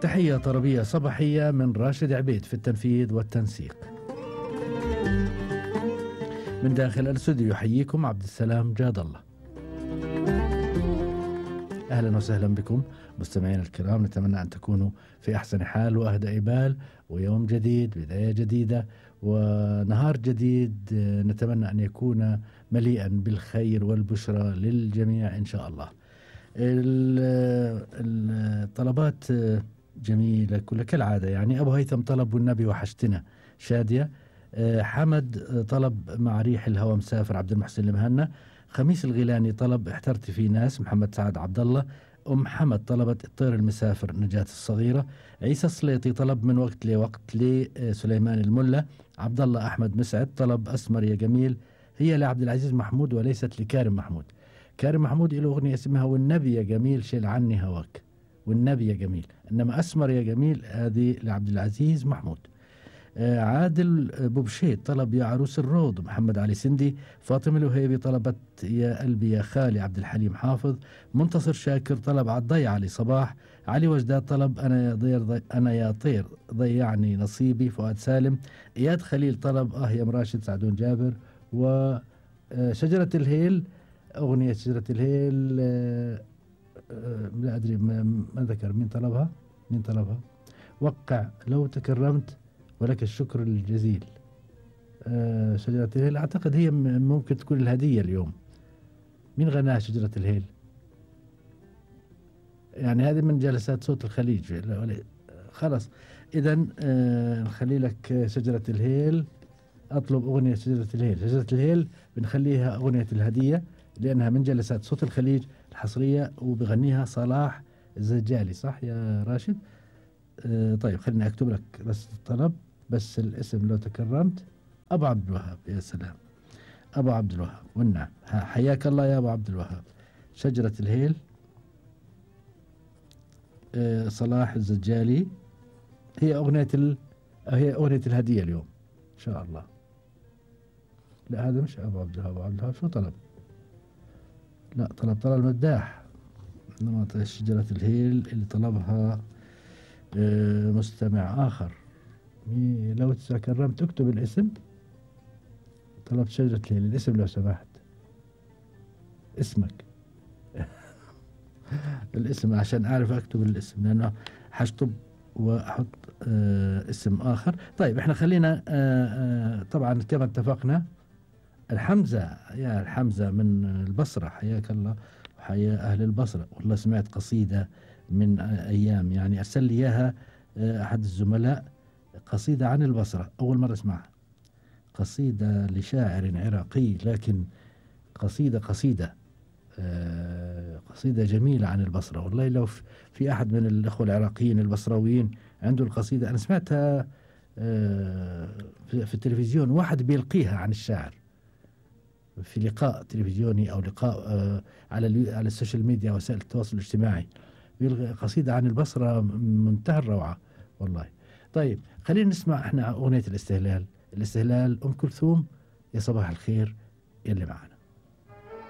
تحية طربية صباحية من راشد عبيد في التنفيذ والتنسيق. من داخل الاستوديو يحييكم عبد السلام جاد الله. أهلا وسهلا بكم مستمعينا الكرام، نتمنى أن تكونوا في أحسن حال وأهدأ بال، ويوم جديد، بداية جديدة ونهار جديد نتمنى أن يكون مليئا بالخير والبشرى للجميع إن شاء الله. الطلبات جميلة كالعادة، يعني أبو هيثم طلب والنبي وحشتنا شادية، حمد طلب مع ريح الهوى مسافر عبد المحسن المهنا، خميس الغيلاني طلب احترت في ناس محمد سعد عبد الله، أم حمد طلبت الطير المسافر نجاة الصغيرة، عيسى السليطي طلب من وقت لوقت لسليمان الملا، عبد الله أحمد مسعد طلب أسمر يا جميل هي لعبد العزيز محمود وليست لكارم محمود. كارم محمود له أغنية اسمها والنبي يا جميل شيل عني هواك، والنبي يا جميل، إنما أسمر يا جميل هذه لعبد العزيز محمود. عادل بوبشيت طلب يا عروس الروض محمد علي سندي، فاطمة الوهيبي طلبت يا قلبي يا خالي عبد الحليم حافظ، منتصر شاكر طلب عالضيع علي صباح، علي وجداد طلب أنا يا طير ضيعني نصيبي فؤاد سالم، إياد خليل طلب يا مراشد سعدون جابر، وشجرة الهيل أغنية شجرة الهيل لا أدري ما ذكر مين طلبها، وقع لو تكرمت ولك الشكر الجزيل. شجرة الهيل أعتقد هي ممكن تكون الهدية اليوم. مين غناها شجرة الهيل؟ يعني هذه من جلسات صوت الخليج. خلاص إذا نخلي لك شجرة الهيل، أطلب أغنية شجرة الهيل. شجرة الهيل بنخليها أغنية الهدية لأنها من جلسات صوت الخليج الحصرية، وبغنيها صلاح الزجالي، صح يا راشد؟ طيب خليني أكتب لك بس الطلب، بس الاسم لو تكرمت. أبو عبد الوهاب، يا سلام، أبو عبد الوهاب، والنعم، حياك الله يا أبو عبد الوهاب. شجرة الهيل صلاح الزجالي هي أغنية الهدية اليوم إن شاء الله. لا هذا مش أبو عبد الوهاب. أبو عبد الوهاب شو طلب؟ لا طلب المداح، إنما شجرة الهيل اللي طلبها مستمع آخر. لو تكرمت اكتب الاسم. طلبت شجرة الهيل، الاسم لو سمحت، اسمك الاسم عشان أعرف أكتب الاسم، لأنه حشطب وأحط اسم آخر. طيب احنا خلينا طبعا كما اتفقنا الحمزة، يا الحمزة من البصرة، حياك الله وحيا أهل البصرة. والله سمعت قصيدة من أيام، يعني أرسل لي إياها أحد الزملاء، قصيدة عن البصرة، أول مرة أسمعها، قصيدة لشاعر عراقي، لكن قصيدة جميلة عن البصرة. والله لو في أحد من الأخوة العراقيين البصرويين عنده القصيدة، أنا سمعتها في التلفزيون، واحد بيلقيها عن الشاعر في لقاء تلفزيوني أو لقاء على السوشيال ميديا وسائل التواصل الاجتماعي، قصيدة عن البصرة منتهى الروعة والله. طيب خلينا نسمع احنا أغنية الاستهلال أم كلثوم، يا صباح الخير يلي معنا.